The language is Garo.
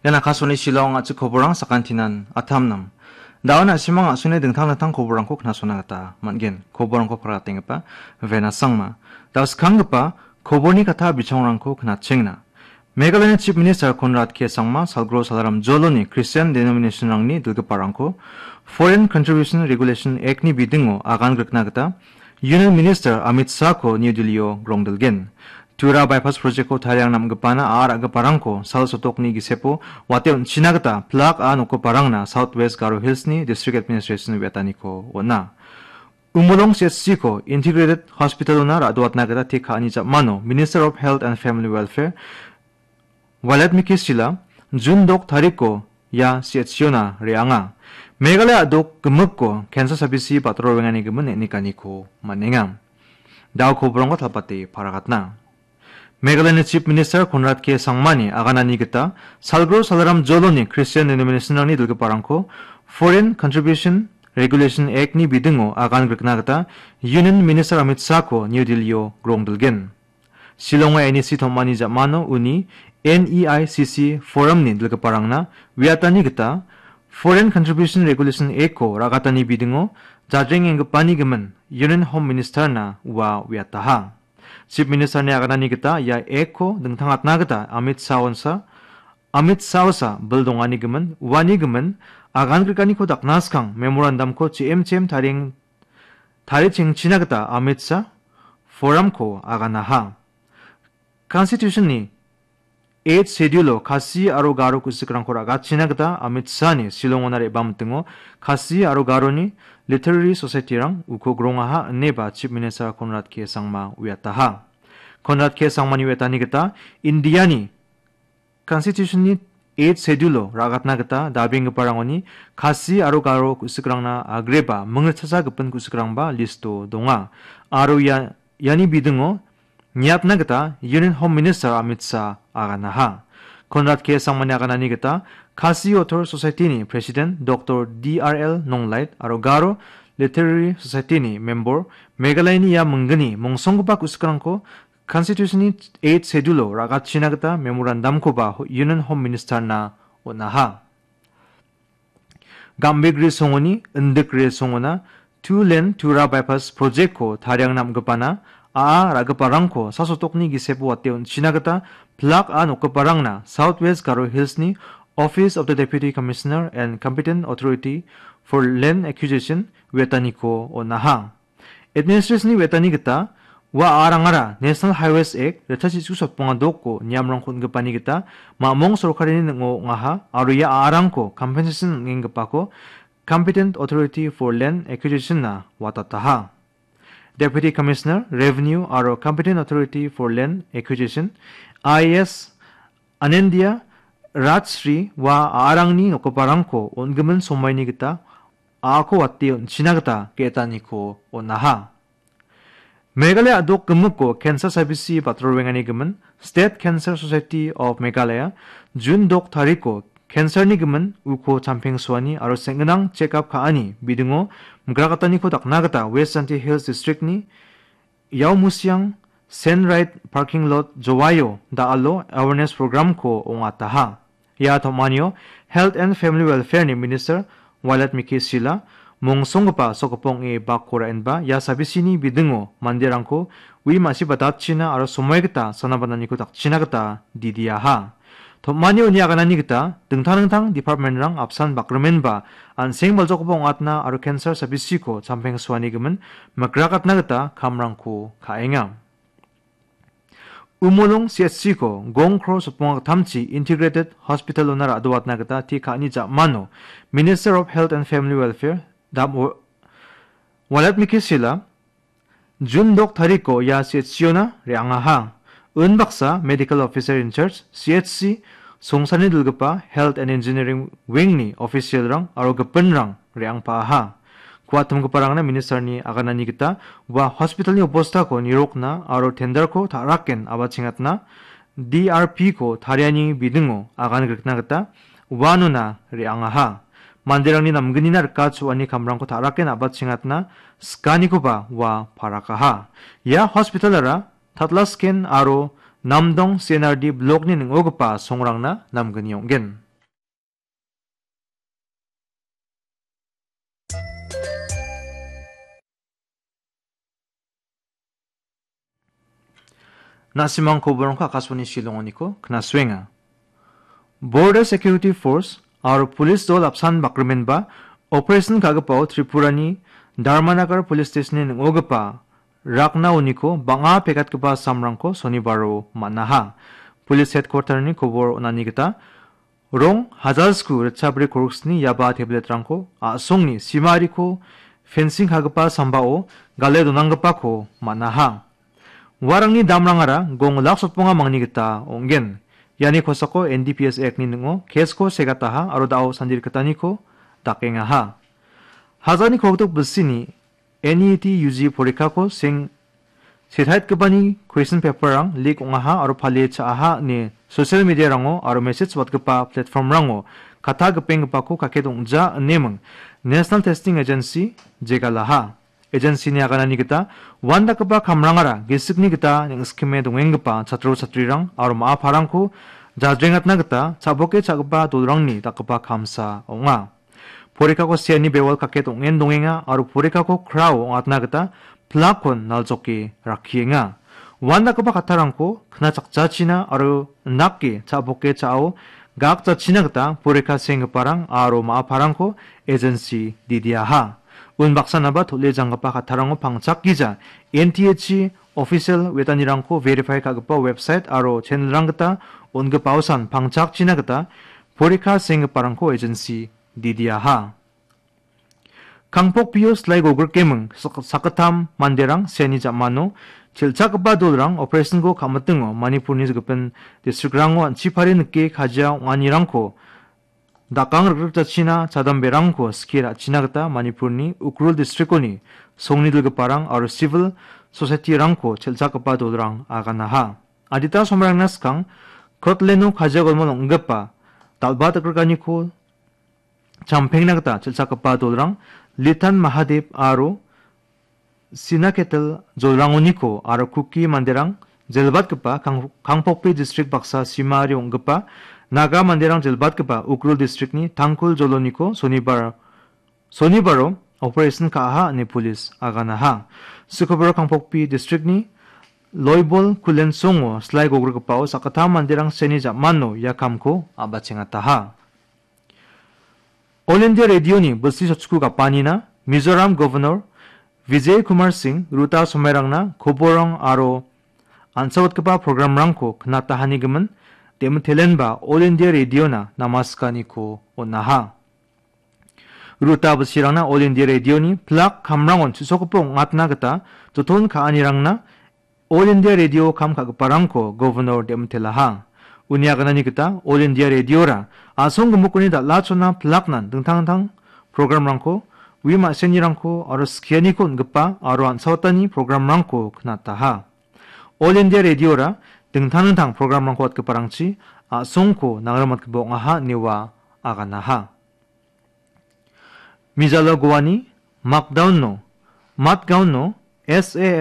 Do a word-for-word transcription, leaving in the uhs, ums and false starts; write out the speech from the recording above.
Ian Akashvani Shillong a·chik koborang sakantinan atamnam. Da·o na·simang a·songni dingtang dingtang koborangko knasona gita man·gen. Koborangko paratenggipa Vena Sangma. Da·o skanggipa koborni kata bichongrangko knatchengna. Meghalayani Chief Minister Conrad K Sangma, Salgro Salaram Joloni Christian denominationrangni dilgiparangko Foreign Contribution Regulation Act-ni bidingo agan grikna gita Union Minister Amit Shah-ko New Delhi-o grongdilgen. Tura Bypass Project-ko tariang namgipana a·a ra·giparangko sal sotokni gisepo wate on·china gita plak a nokgiparangna South West Garo Hills-ni District Administration wetaniko on·a. Umolong C H C-ko Integrated Hospital-ona ra·doatna gita te ka·ani jamano Minister of Health and Family Welfare Wailadmiki Shylla, Jun dok tariko ia C H C-ona re·anga. Meghalaya a·dok gimikko cancer sabisi batro roenganigimin neng·nikaniko man·enga. Da·o koborangko talpate paragatna. Meghalayani Chief Minister Conrad K Sangmani aganani gita Salgro Salaram Joloni Christian denominationrangni dilgiparangko Foreign Contribution Regulation Act-ni bidingo agan grikna gita Union Minister Amit Shah-ko New Delhi-o grongdilgen. Shillongo N E C tom·ani jamano uni N E I C C Forum-ni dilgiparangna uiatani gita Foreign Contribution Regulation Act-ko ra·gatani bidingo jadrengenggipani gimin Union Home Minister-na ua uiataha. Chief Minister-ni aganani gita ia Act-ko dingtangatna gita Amit Shah onsa, Amit Shah osa bil dongani gimin, uani gimin agan grikaniko dakna skang memorandum-ko chim chim tarieng-, tarichengchina gita Amit Shah Forum-ko aganaha. Constitution-ni Eighth Schedule-o Khasi aro Garo ku·sikrangko ra·gatchina gita Amit Shah-ni Shillong-ona re·bamitingo Khasi aro Garoni Literary Society-rang uko grongaha ineba Chief Minister Conrad K Sangma uiataha. Conrad K Sangmani uiatani gita India-ni Constitution-ni Eighth Schedule-o ra·gatna gita dabenggiparangoni Khasi aro Garo ku·sikrangna agreba mingritchasa gipin ku·sikrangba list-o donga. Aro ia, iani bidingo niatna gita Union Home Minister Amit Shah aganaha. Conrad K Sangmani aganani gita Khasi Author Society-ni President Doctor D R L Nonglait aro Garo Literary Society-ni member Meghalayani ia minggni mongsonggipa ku·sikrangko Constitution-ni Eighth Schedule-o ra·gatchina gita memorandum-koba ho-, Union Home Minister-na on·aha. Gambegre songoni, Indikre songona, Two Lane Tura Bypass Project-ko tariang namgipana, a·a ra·giparangko sasotokni gisepo wate on·china gita plak a nokgiparangna South West Garo Hills-ni Office of the Deputy Commissioner and Competent Authority for Land Acquisition uiataniko on·aha. Administration-ni uiatani gita ua a·arangara National Highways Act ritchasitsu sotbonga dokko niamrangko on·gipani gita mamong sorkarini ning·o ong·aha aro ia a·arangko compensation on·enggipako Competent Authority for Land Acquisition-na watataha. Deputy Commissioner, Revenue aro Competent Authority for Land Acquisition, I A S Anendia Rajshri ua a·arangni nokgiparangko on·gimin somaini gita a·ako wate on·china gita ge·etaniko on·aha. Meghalaya a·dok gimikko cancer sabisi batrorengani gimin State Cancer Society of Meghalaya June dok tariko cancer-ni gimin uko champengsoani aro seng·ginang check-up ka·ani bidingo migrakataniko dakna gita West Jaintia Hills District-ni Yaomusiang Sendrait Parking Lot Jowaio da·alo awareness program-ko ong·ataha. Ia tom·anio Health and Family Welfare-ni Minister Wailadmiki Shylla, mongsonggipa sokgipong ong·e bakko ra·enba ia sabisini bidingo manderangko ui ma·sibadatchina aro somoi gita sana bananiko dakchina gita didiaha. Tom·ani uni aganani gita dingtang dingtang department-rang apsan bakrimenba an·seng baljokgipa ong·atna aro cancer sabisiko champengsoani gimin mikrakatna gita kamrangko ka·enga. Umolong C H C-ko gong kro sotbonga gittamchi Integrated Hospital-ona ra·doatna gita te ka·ani ja·mano Minister of Health and Family Welfare Dam Wa-, Wailadmiki Shylla, June dok tariko ia C H C-ona re·angaha. Unbaksa Medical Officer in Charge, C H C, songsani dilgipa Health and Engineering Wing-ni official-rang aro gipinrang re·angpaaha. Kuatimgiparangna Minister-ni aganani gita ua hospital-ni obostako nirokna aro tender-ko ta·raken abachengatna D R P-ko tariani bidingo agan grikna gita uanona re·angaha. Manderangni namgnina rika chu·ani kamrangko ta·raken abachengatna sikanikoba ua parakaha. Ia hospital-ara Tatlasken aro Namdong C N R D blok-ni ning·ogipa songrangna namgni ong·gen. Na·simang koborongko Akashvani Shillongoniko knasuenga. Border Security Force aro police dol apsan bakrimenba operation ka·gipao Tripurani Dharmanagar Police Stationni ning·ogipa rakna uniko bang·a pekatgipa samrangko sonibaro man·aha. Police headquarterni kobor on·ani gita rong hajalsku ritchabri koroksni yaba tabletrangko a·songni simariko fencing ka·gipa sambao gale donanggipako man·aha. Uarangni damrangara gong lak sotbonga mangni gita ong·gen. Iani kosako N D P S Act-ni ning·o case-ko segataha aro da·o sandirikgitaniko dakengaha. Hajani kolgrik bilsini N E T U G porikako seng setaitgipani question paper-rang leak ong·aha aro palie cha·aha ine social media-rango aro message watgipa platform-rango kata gipenggipako kake dongja ineming National Testing Agency jegalaha. Agency-ni aganani gita uandakgipa kamrangara gisikni gita neng·sikime dongenggipa chatro chatrirang aro ma·a parangko jadrengatna gita cha·boke cha·gipa dolrangni dakgipa kamsa ong·a. Porikako seani bewal kaket ong·en dongenga aro porikako krao ong·atna gita plakkon naljoke rakkienga. Uandakgipa kattarangko knachakjachina aro indake cha·boke cha·ao gakjachina gita porika senggiparang aro ma·a parangko agency didiaha. Unbaksanaba tole janggipa kattarangko pangchakgija N T H C official wetanirangko verify ka·gipa website aro channel-rang gita on·gipaosan pangchakchina gita porika senggiparangko agency didiaha. Kangpokpio slai gogrikeming sak-, sakgittam manderang seani ja·mano chel·chakgipa dolrang operation-ko ka·mitingo Manipurni gipin district-rango an·chipari nike kajia ong·anirangko dakang rikrikjachina chadamberangko skie ra·china gita Manipurni Ukhrul district-oni songnidilgiparang aro civil society-rangko chel·chakgipa dolrang aganaha. Adita somarangna skang Kirtland-o kajia golmon ong·gipa dal·ba dikrikaniko champengna gita chel·chakgipa dolrang Litan Mahadev aro Sinaketel jolrangoniko aro Kuki manderang jelbatgipa Kang-, Kangpokpi distrik baksa simari ong·gipa Naga manderang jelbatgipa Ukhrul distrikni Tangkhul joloniko sonibar, sonibaro operation ka·aha ine pulis aganaha. Sikoboro Kangpokpi distrikni Loibol Kulensongo slai gogrikgipao sakgittam manderang seni ja·mano ia kamko a·bachengataha. All India Radio-ni bilsi sotchiku gapanina Mizoram Governor Vijay Kumar Singh Ruta Somairangna koborrang aro an·saotgipa programrangko knatahanigimin Demitelenba All India Radio-na namaskaniko on·aha. Ruta bilsirangna All India Radio-ni plak kamrangon chu·sokgipa ong·atna gita joton ka·anirangna All India Radio kam ka·giparangko Governor Demtelaha. Uni aganani gita All India Radio-ra a·song gimikoni dal·achona pilaknan dingtang dingtang programrangko, ui ma·senirangko aro skianiko on·gipa aro an·saotani programrangko knataha. All India Radio-ra dingtang dingtang programrangko watgiparangchi a·songko nangrimatgipa ong·aha inewa aganaha. Mijalo Goani Makdaunno, Matgaunno S A F